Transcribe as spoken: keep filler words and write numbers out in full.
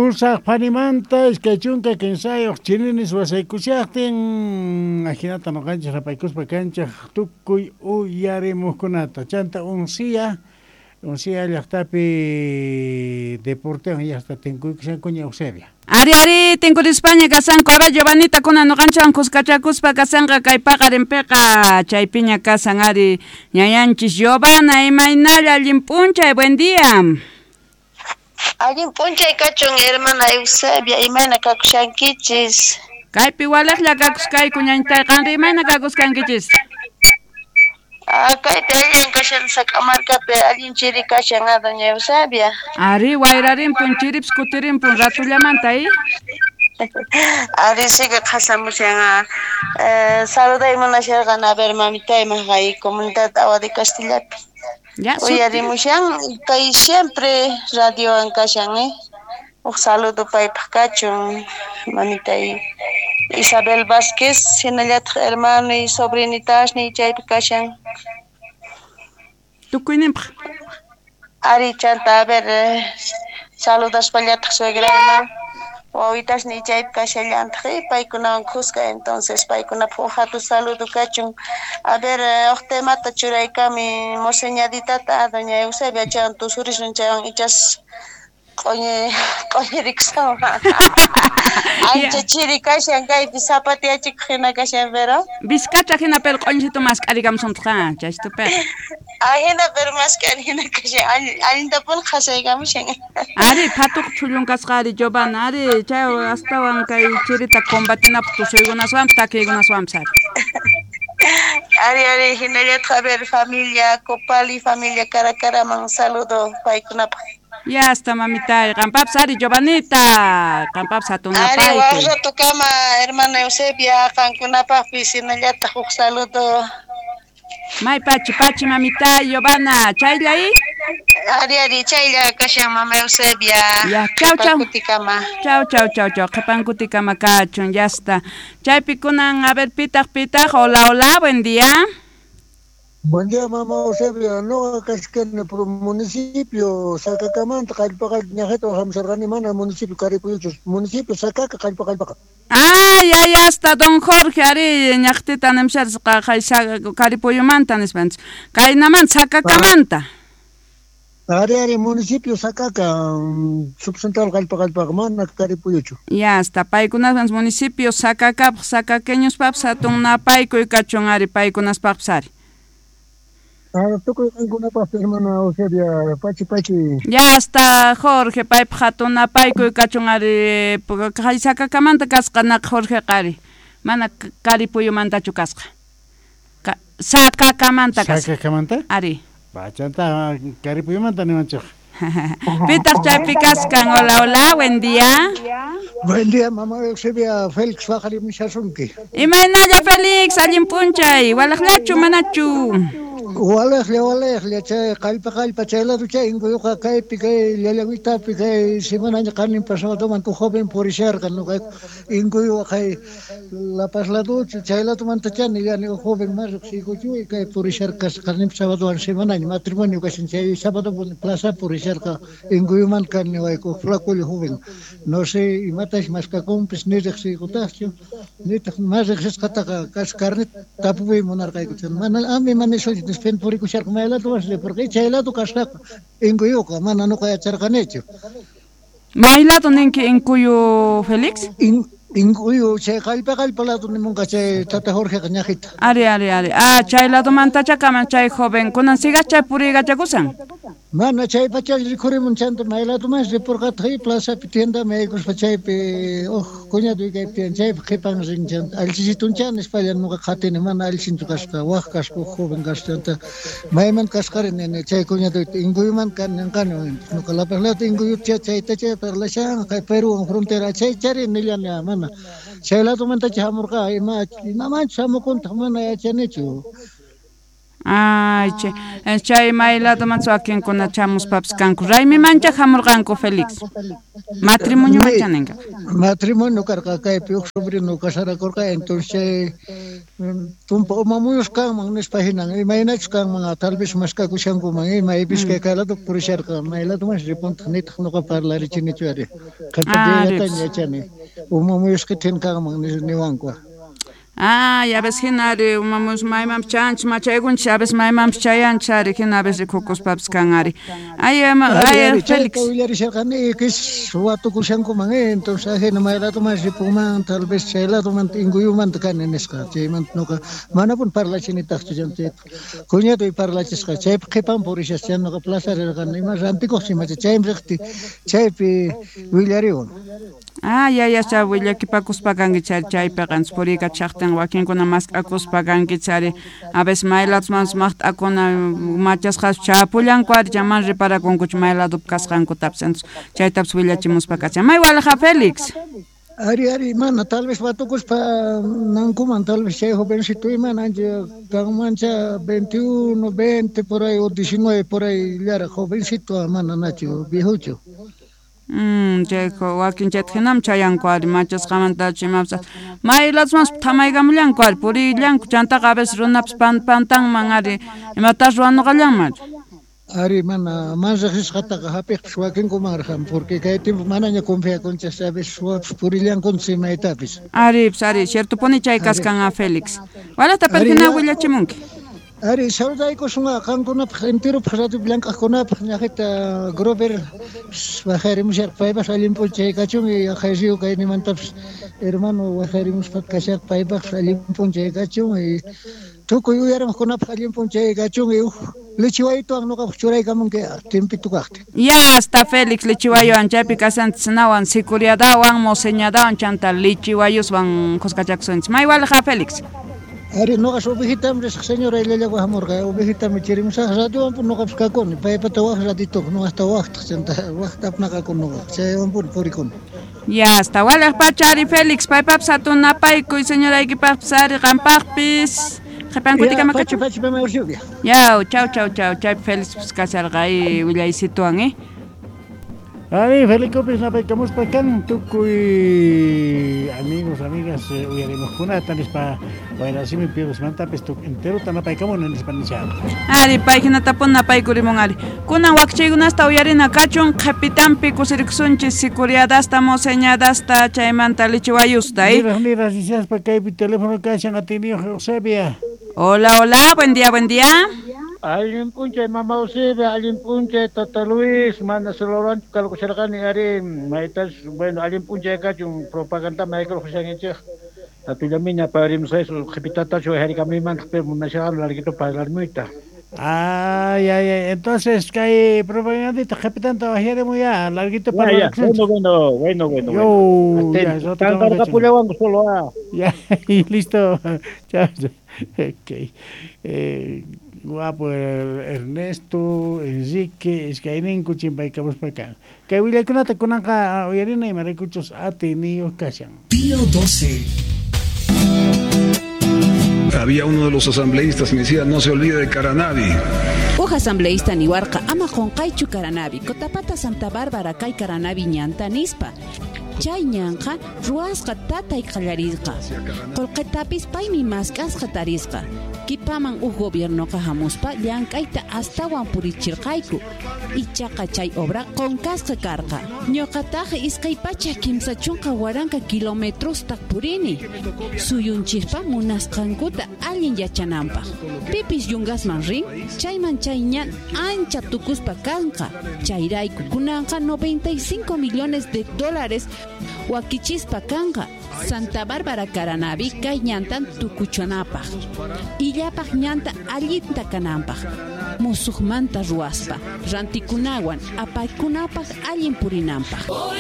Pusaq phanimanta iskay chunka kinsayuq chininis wasaykushaqtin ajinata noqanchis rapaykuspa kanchaq tukuy uyarimuqkunata chanta uncia uncia llaqtapi deportewan llaqta tinkuykushankuña Eusebia. Ari ari tinkurispaña kasanku a ver Giovanita kuna noqanchikwan kuskachakuspa kasanqa kay paqarinpiqa chaypiña kasan ari ñayanchis Giovanna imaynalla allin p'unchay buen día. Allin p'unchay kachun hermana Eusebia imayna kakushankichis. Kaypi waliqlla kakuskayku ñañtay qanri imayna kakuskankichis. Ah, kaypi allin kashan Sac'amarkapi allin chiri kashan a doña Eusebia. Ari wayrarinpun chiripis kutirimpun ratullamanta y Ari sigue qhasamushan eh, saluday munasharqan a ver mamitayman hay comunidad Agua de Castillapi. Ya, uyarimushan kay siempre radiowan kashan eh. Uj saludo paypaq kachun mamitay Isabel Vázquez hinallataq hermano y sobrinitasniy chaypi kashan. Tukuyninpaq. Ari chanta a ver eh, saludaspallataq suegrayman wawitasniy chaypi kashallantaq eh, paykunawan kuska entonces paykunapaq uj hatun saludo kachun. A ver eh, uj temata churaykami moseñaditata doña Eusebia chaywan tusurisun chaywan ichas q'oñi q'oñirikusawan. Ancha chiri kashan kaypi zapatiyachikuq hina kashan pero Vizcacha hina pero q'oñisitu mask'arikamusuntaq chaystupiqa. Ahina pero mask'ari hina kashan allintapuni qhasaykamushan. Ari phatuq chhullun kasqa ari Giovanna ari chay astawan kay chirita combatinapaq tusuykunaswanpas takiykunaswanpas ari. Ari ari hinallataq a ver familia Copali familia Caracaraman saludo paykunapaq. Ya está mamitay, qampapas ari Giovanita, qampapas Ari hatunapayku. waq ratukama hermana Eusebia qankunapaqpis hinallataq huk saludo. May pachi pachi mamitay Giovanna, chaylla y Ari ari chaylla kashan mama Eusebia. Ya, chau chau. Qhipankutikama. Chau chau chau chau, qhipankutikama kachun, ya está. Chaypi kunan, a ver pitaq pitaq, hola hola, buen día. Buen día, mamá Eusebia. No, kashkani por municipio Sacacamanta, Qallpaqa, ñajeta hamsarqani mana municipio Caripuyuchus, municipio Sacaca, Qallpa Qallpaqa. Ay, ay, hasta don Jorge ari ñaqtita nimsharisqa Caripuyumanta nispanchis. Kaynaman Sacacamanta. Ari ari municipio Sacaca, subcentral Qallpa Qallpaqa, mana Caripuyuchu. Ya hasta paykunapas municipio Sacacapaq, sacaqueñospapis hatun napaykuy kachun ari paykunaspaqpis ari. Ah, tukuy qankunapaq hermana Eusebia, pachi pachi. Ya hasta Jorge paypaq hatun napaykuy kachun ari kay Sacacamanta kasqa naq Jorgeqa ari. Mana Caripuyumantachu kasqa. Ka, Sacacamanta kasqa. Sacacamanta? Ari. Bachanta Caripuyumanta nimanchik. Pitaq chaypi kaskan, hola hola, buen día. Buen día, mamá Eusebia, Félix waqarimushasunki. Imaynalla Félix, allin p'unchay, walaqllachu manachu. Walaqlla walaqlla chay qallpa qallpa chay lado chay inkuyuqa kaypi kay llallawitapi kay semanaña qanin pasadoman tu joven purisharqa nuqayku inkuyuqa kay La Paz laduchu chay ladomanta chani llani joven mas riqsiykuchu kay purisharqa qanin sabadowan semanaña matrimonio kashan chay sábado plaza purisharqa inkuyuman kaniwayku flacullo joven no sé imatash maskakunpis ni riqsiykutaqchu nitaq mas riqsisqataqa kas carnet tapuy munarqayku mana ami mana nispa purikusharqa may lado vas ripurqa chay lado kasqaqa inkuyuqa mana nuqa yacharqanichu. May lado ninki inkuyu Félix? In, inkuyu chay qallpa qallpa lado nimunqa chay tata Jorgeqa ñajita. Ari ari ari. Ah, chay ladomantacha kaman chay joven kunan sigas chay puriykachakusan. Mana chay pacha rikhurimun chanta may ladoman ripurqataq plazapi tiendaman yaykuspa chaypi uj cuñado kaypi tiyan chaypi qhipan rin chanta allisitunchan nispalla nuqa qhatini mana allisinchu kasqa waq kasqa uj joven kasqa chanta mayman kasqari nini chay cuñadoyta inkuyuman kan ninqani nuqa La Paz lado inkuyucha chayta chay parlashan kay Peruwan frontera chay chari nillani mana chay ladomantacha hamurqa ima imamanchus hamukuntaq mana yachanichu. Ay, chay, chay may ladoman wakinkuna chamuspapis kanku. Raymimancha hamurqanku Félix. Matrimonio mancha ninqa. Matrimonio karqa kaypi huk sobrino casarakurqa, entonces chay tumpa umamuyus kanman nispa hinan, imaynachus kanman, tal vez maskakushankuman, maypis kay kay lado purisharqa, may ladoman ripuntaq nitaq nuqa parlarichinichu ari. Qhipata yachani, umamuyusqa tin kanman niwanku. Ah, ya ves hina ari umamus maymanpis chayanchis machaykunchis a veces maymanpis chayanchis ari hina a veces rikukuspapis kan ari. Ay, ay, Félix. Willarisharqani kis watukushankuman, entonces ajina may ladoman ripunman, tal vez chay ladoman Inkuyumanta kani nisqa, chaymanta nuqa manapuni parlachinitaqchu chayta. Cuñadoy parlachisqa, chaypi qhipan purishasqa, chay nuqa plaza rirqani, ima rantikuqchu imacha, chaymi riqti chaypi willariwan. Ah, ya, ya, chay willakipakuspa kanki chay chaypiqa puriykachaqtin wakinkuna mask'akuspa kanki chari a veces may ladoman maqt'akuna machasqas chapullanku ari chaman reparakunkuchu may ladopi kasqankutapis, entonces chaytapis willachimuspa kachan. May walaja Félix. Ari, ari, mana, tal vez watukuspa nankuman, tal vez chay jovencito imana, ancha kanmancha veintiuno, veinte por ahí o diecinueve por ahí, llara jovencito, mana nachu, viejucho. Mm, chayko wakin chayta hinam chayanku ari machasqamantachu imapis may ladomanpas thamaykamullanku ari purillanku chantaqa a veces runapis pan pantanman ari imatas ruwanuqallanman. Ari mana mana riqsisqataqa hapiqpis wakinkumanraqan, porque kay tiempo manaña confiakunchis, a veces suwapis purillankunchis imaytapis. Ari, pues ari, ciertopuni chay kaskan a Félix. Walata pero hina willachimunki. Ari, saludaykusun qankunapaq enteropaq radio llank'aqkunapaq ñaqita Grover wajarimusharqa paypaq allin p'unchay kachun y aqhay río kaynimantapis hermano wajarimuspa kasharqa paypaqpis allin p'unchay kachun y tukuy uyarimuqkunapaq allin p'unchay kachun y huk lichiwaytuwan nuqapaq churaykamunki timpito kaqtin. Ya hasta Félix lichiwayuwan chaypi kasanchis sicuriadawan moseñadawan chanta lichiwayuswan kuskachakusunchis. May walaja Félix. Ari, nuqas ovejitam risaq señora Ilallagua hamurqa, ovejitam chirimusaq radiowanpuni nuqapis kakuni, paypata waq ratito, nuqasta waqtaq chanta waqta apnaqakuni nuqa, chaywanpuni purikuni. Ya hasta walaq pacha ari Félix, paypapis hatun napaykuy señoraykipaqpis ari qampaqpis. Qhipankutikama kachun. Pacha, pacha, mama Eusebia. Yaw, chau, chau, chau, chaypi Félix kasharqa willaysituwan, eh. Ari, Felipe napaykamuspa kan tukuy amigos, amigas, uyarimuqkunata nispa wayrasimi piedosmantapis enterota napaykamuni nispa nishan. Ari, pay hinatapun napaykurimun ari. Kunan wakchaykunasta uyarina kachun qhipitanpi kusirikusunchis sicuriadasta, moseñadasta, chaymanta lichiwayusta, eh. Niraq niraq nishaspa kaypi teléfono kashan atiniyuq Eusebia. Hola, hola, buen día, buen día. Allin p'unchay mama Eusebia, allin p'unchay tata Luis, mana soloranchu kalkusharqani ari maytas, bueno, allin p'unchay kachun propaganda maykulqushankichik. Tatullamiña parimusqaysu qhipitatachu wajarikamimantaq pero munasharqani larguito parlarmuyta. Ay, ay, ay, entonces kay propagandita qhipitanta wajarimuy ya, larguito parlarkusunchik. Bueno, bueno, bueno, bueno. Yo, ya, tantarqapullawanku solo ah. Ya, y listo. Chao. Okay. Eh, guapo Ernesto, Enrique, iskayninku chimpaykamuspa kan. Kay willaykunata kunanqa uyarina imaraykuchus atiniyuq kashan. Pío doce. Había uno de los asambleístas que me decía, no se olvide de Caranavi. Uj asambleísta niwarqa ama qunqaychu Caranavi, Cotapata Santa Bárbara kay Caranavi ñanta nispa. Chay ñanqa ruwasqa tatay qallarisqa. Qullqitapis paymi mask'asqa tarisqa. Kipaman uj gobiernoqa hamuspa llank'ayta astawan purichirqayku. Ichaqa chay obra qunqasqa karqa. Ñuqataq iskay pachak kimsa chunka waranqa kilometrosta purini. Suyunchikpa munasqankuta allin yachananpaq. Pipis yungasman rin, chayman chay ñan ancha tukuspa kanqa. Chayrayku kunanqa noventa y cinco millones de dólares wakichispa kanqa. Santa Bárbara Caranavi kay ñantan tukuchanapaq. Illapaq ñanta allinta kananpaq. Musuqmanta ruwaspa, rantikunawan apaykunapaq allin purinanpaq.